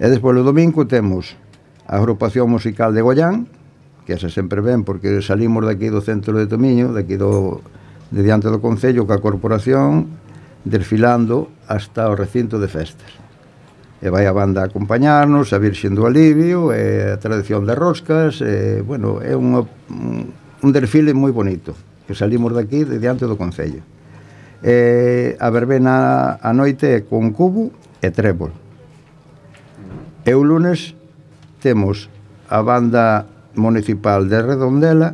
E despois o domingo temos a agrupación musical de Goián, que esa sempre ven porque salimos daqui do centro de Tomiño, daqui de diante do Concello, ca corporación, desfilando hasta o recinto de festas. E vai a banda a acompañarnos, a Virxen do Alivio, a tradición de roscas, bueno, é un desfile moi bonito, que salimos daqui de diante do Concello. A verbena a noite é con cubo e trébol. E o lunes temos a banda municipal de Redondela,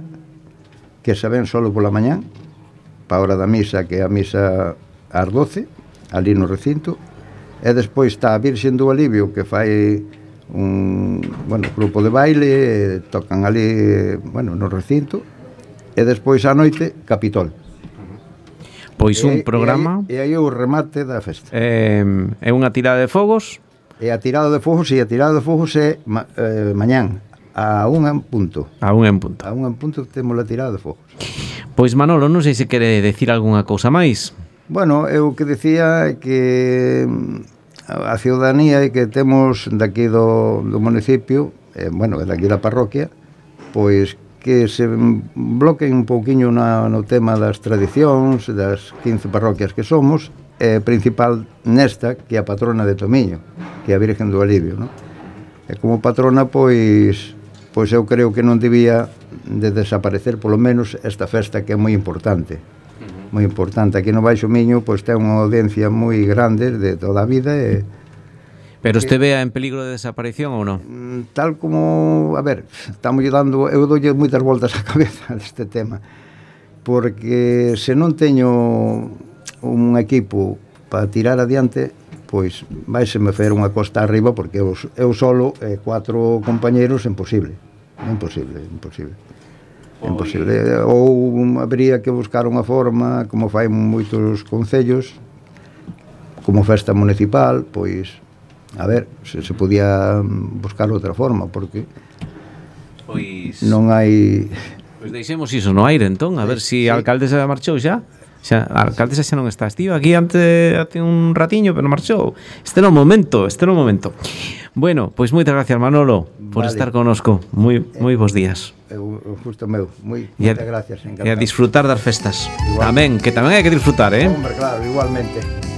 que se ven solo pola mañán, pa hora da misa, que é a misa ás 12, ali no recinto, e despois está a Virxen do Alivio, que fai un grupo de baile, tocan ali, no recinto, e despois á noite, Capitol. Pois un programa... E aí o remate da festa. É unha tirada de fogos... E a tirada de fogos é mañán, a 1 en punto. A 1 en punto. A 1 en punto temos a tirada de fogos. Pois Manolo, non sei se quere decir algunha cousa máis. Bueno, eu que decía é que a ciudadanía que temos daqui do municipio, daqui da parroquia, pois que se bloqueen un pouquiño no tema das tradicións, das 15 parroquias que somos, principal nesta, que é a patrona de Tomiño, que é a Virgen do Alivio, non? E como patrona, pois eu creo que non debía de desaparecer, polo menos, esta festa que é moi importante. Moi importante. Aquí no Baixo Miño, pois ten unha audiencia moi grande de toda a vida e... Pero este vea en peligro de desaparición ou non? Tal como... A ver, estamos dando... Eu doulle moitas voltas á cabeza deste tema, porque se non teño un equipo para tirar adiante, pois vaiseme fer unha costa arriba, porque eu solo e 4 compañeros imposible. Ou habría que buscar unha forma, como fai moitos concellos, como festa municipal, pois a ver se podía buscar outra forma, porque non hai... Pois deixemos iso no aire, entón, a ver se a alcaldesa marchou xa. A alcaldesa xa non está. Estive aquí hace un ratiño, pero marchou. Este é o momento. Bueno, pois moitas gracias, Manolo, por estar connosco. Moi bons días. Justo meu. Moitas gracias. E a disfrutar das festas. Amén, que tamén hai que disfrutar, Hombre, claro, igualmente.